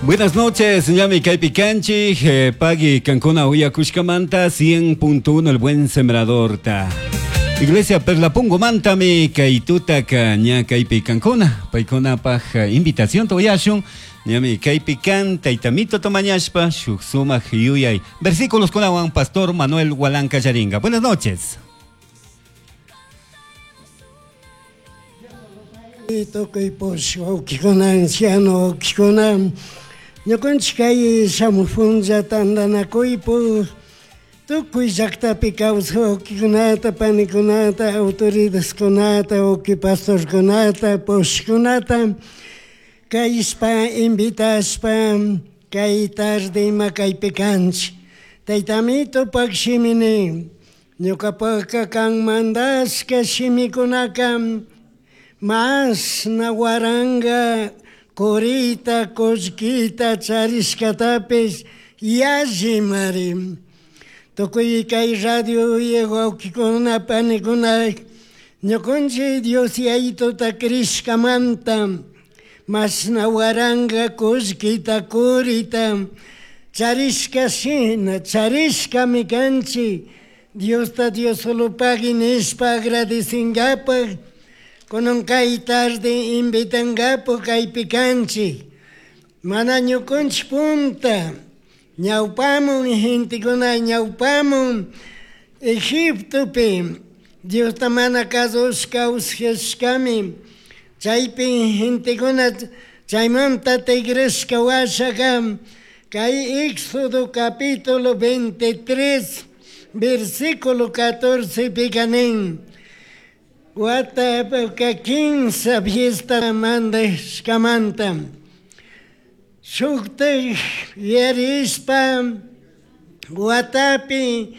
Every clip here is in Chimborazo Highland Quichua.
Buenas noches, ñami kaypi kanchik, pagui kankuna uyakushkamanta 100.1 El Buen Sembradorta. Iglesia Perlapungomantami kay tutaka ña kaypi kankuna, paykunapaj invitacionta uyashun, ñami kaypi kan taytamito tomañashpa shuk sumak yuyay versículos kunawan Pastor Manuel Hualanca Yaringa. Buenas noches. Tukuy push wawkikuna, anciano wawkikuna, ñukanchik kay shamuj punlla tantanakuypuk tukuy llaktapi kawsaj wawkikunata, panikunata, autoridadkunata, wawki pastorkunata, pushkunata kayshpa invitashpa kay tarde ima kaypi kanchik. Taytamitupak shimi nin, ñukapakka kan mandashka shimikunaka mashna waranga kurita kullkita charishkatapish yallimari. Tukuy kay radio wawkikuna panikuna ñukanchik Dios Yayituta crishkamanta mashna waranga kullkita kurita charishka shina charishkami kanchik Diosta Dios solo pagui nishpa agradecingapaj kunan kay tarde invitangapaj kaypi kanchik mana ñukanchik punta ñawpamun gentekuna ñawpamun Egiptopi Diosta mana kasushka kawsashkami chaypi gentekuna chaymanta tigrashka washaka kay Éxodo capítulo 23 versículo 14 pika nin watapaka kinsa fiesta mandashkamanta shuktak yarishpa watapi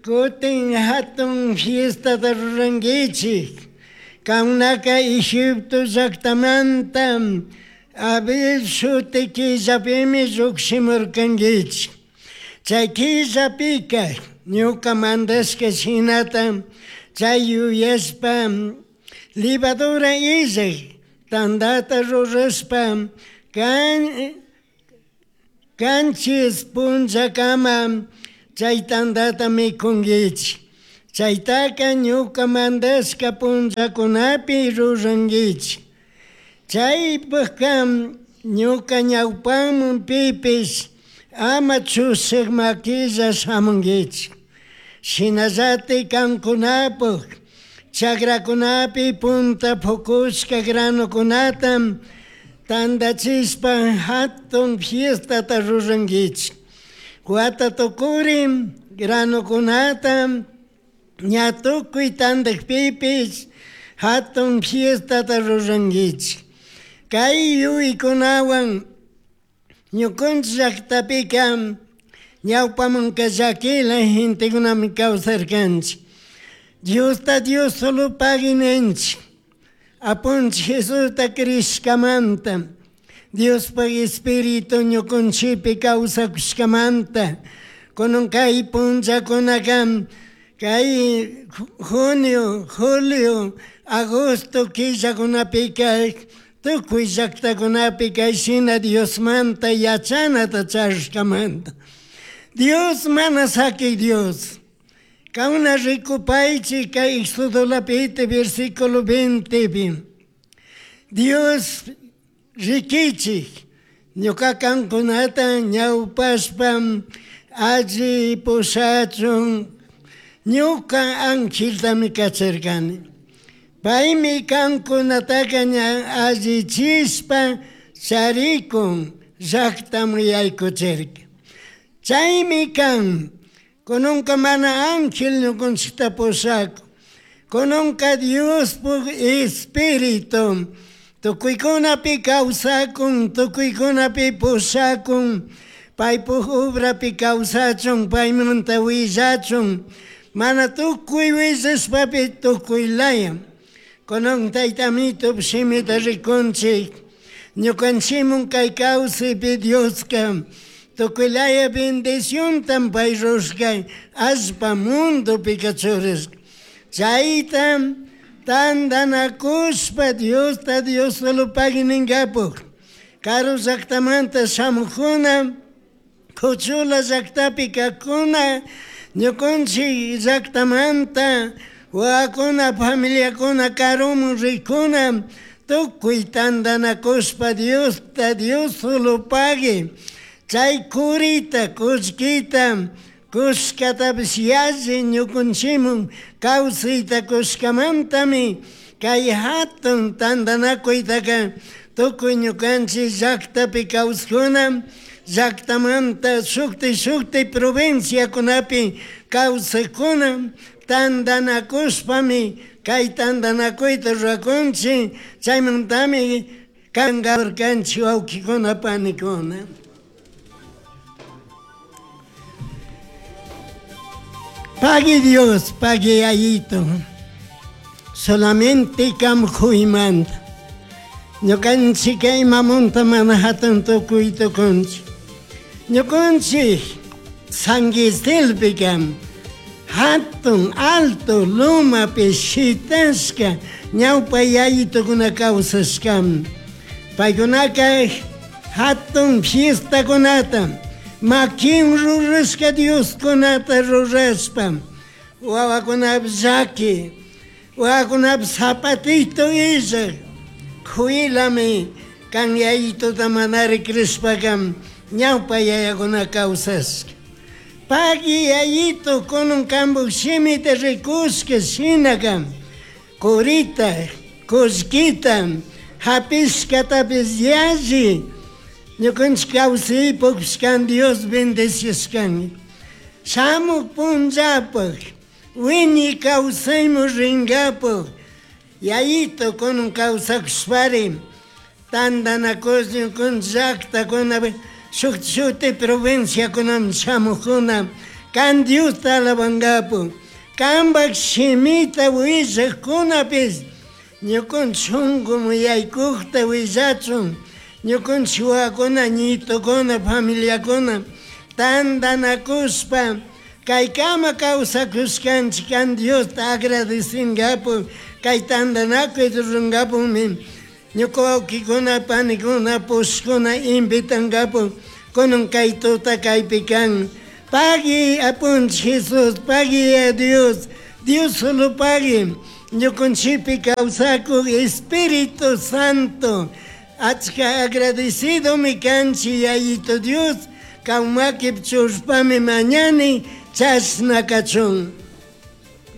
kutin hatun fiestata rurankichik kankunaka Egipto llaktamanta Abib shuti killapimi llukshimurkankichik chay killapika ñuka mandashka shinata chay yuyashpa levadura illak tandata rurashpa kan kanchis punllakama chay tandata mikunkichik chaytaka ñuka mandashka punllakunapi rurankichik chaypakka ñuka ñawpaman pipish ama chushak makilla shamunkichik shinallatik kankunapuk chakrakunapi punta pukushka granukunata tandachishpa hatun fiestata rurankichik wata tukuri granukunata ña tukuy tandakpipish hatun fiestata rurankichik kay yuykunawan ñukanchik llaktapika ñawpamanka llakila gentekunami kawsarkanchik Diosta Dios solo pagui ninchik Apunchik Jesusta crishkamanta Diospak Espíritu ñukanchikpi kawsakushkamanta kunan kay punllakunaka kay junio, julio, agosto killakunapika tukuy llaktakunapi kayshina Diosmanta yachanata charishkamanta Dios mana sakik Dios kauna rikupaychik kay Éxodo lapiti versículo 20 pi Dios rikichik ñuka kankunata ñawpashpa alli pushachun ñuka angeltami kacharkani paymi kankunataka ña allichishpa charikun llaktaman yaykuchirka chaymi kan kunanka mana ángel ñukanchikta pushakun kunanka Diospuk Espíritu tukuykunapi kawsakun tukuykunapi pushakun paypuk obrapi kawsachun paymanta willachun mana tukuy willashpapi tukuy laya kunan taytamito shimita rikunchik ñukanchikmun kay kawsaypi Dioska tukuy laya bendicionta pay rushka allpa mundopika churashka chayta tandanakushpa Diosta Dios solo pagui ninkapuk. Karu llaktamanta shamukuna, kuchula llaktapi kaqkuna, ñukunchik llaktamanta wawakuna, familiakuna karuman rikuna, tukuy tantanakushpa Diosta Dios solo pagui. Chay kurita, kullkita, kushkatapish yalli ñukunchikman kawsayta kushkamantami kay hatun tantanakuytaka tukuy ñukanchik llaktapi kawsakuna, llaktamanta shukti shukti provinciakunapi kawsakuna tantanakushpami kay tantanakuyta rurakunchik, chaymantami kankarkanchik wawkikuna panikuna. Pagui Dios, pagui Yayito, solamente kam huymanta. Ñukanchik imamunta mana hatun tukuy tukunchik. Ñukanchik Sanguistilpika hatun alto lumapi shitashka ñawpa yayitokuna kawsashkami. Paykunaka hatun fiestakunata, makin rurashka Dioskunata rurashpa, wawakunapish llaki, wawakunapish zapatito illak, kuyilami kan yayituta manari crishpaka ñawpa yayakuna kawsashka. Pagui yayito kunan kanpuk shimita rikushka shinaka, kurita, kullkita, hapishkatapish yalli, ñukanchik kawsaypukpish kan Dios bendecishkan. Shamuk punllapak, wiñay kawsayman rinkapak, yayito kunan kawsakushpari, tantanakush ñukanchik llaktakunapi, shuk shuti provinciakunaman shamukuna, kan Diosta alabankapak, kanpak shimita willakkunapish, ñukanchik shunkuman yaykukta willachun, ñukanchik wawakuna, ñitukuna, familiakuna, tantanakushpa, kaykama kawsakushkanchik kan Diosta agradecinkapuk, kay tantanakuy rurankapukmi, ñuka wawkikuna, panikuna, pushkuna invitankapuk, kunan kay tuta kaypi kan. Pagui apunchik Jesus, pagui a Dios, Dios solo pagui, ñukanchikpi kawsakuk Espíritu Santo, achka agradecidomi kanchik Yayito Dios, kan makipi churashpami mañani, chashna kachun.